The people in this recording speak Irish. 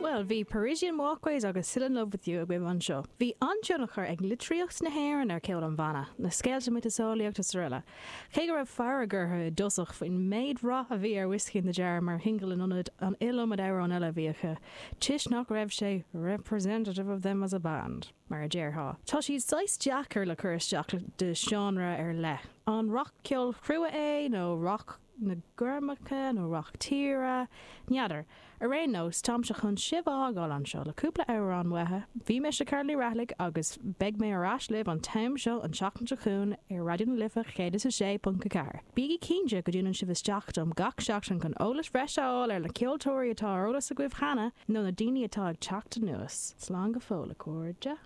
Bhuel, bhí Parisienne Walkways agus Still in Love With You agaibh anseo. Bhí an-tionchar ag litríocht na hÉireann ar cheol an bhanna, na scéalta miotaseolaíochta is araile. Cé go raibh fearg orthu i dtosach faoin méid rath a bhí ar Whiskey in the Jar mar shingil in ionad an iliomad amhrán eile a bhí acu, toisc nach raibh sé representative of them as a band, mar a déarfá. Tá siad saghas deacair le cur isteach de seánra ar leith. An rac-cheol crua é nó rac na gormacha nó rac tíre? N'fheadar. Ar aon nós, táimse chun sibh a fhágáil anseo le cúpla amhrán uathu. Bhí mise Carla Ní Raghallaigh agus beidh mé ar ais libh an t-am seo an tseachtain seo chugainn ar Raidió na Life 106.4. Bígí cinnte go dtiúnann sibh isteach dom gach seachtain chun eolas bhreise a fháil ar na ceoltóirí atá ar eolas agaibh cheana nó na daoine atá ag teacht anuas. Slán go fóill, a chairde.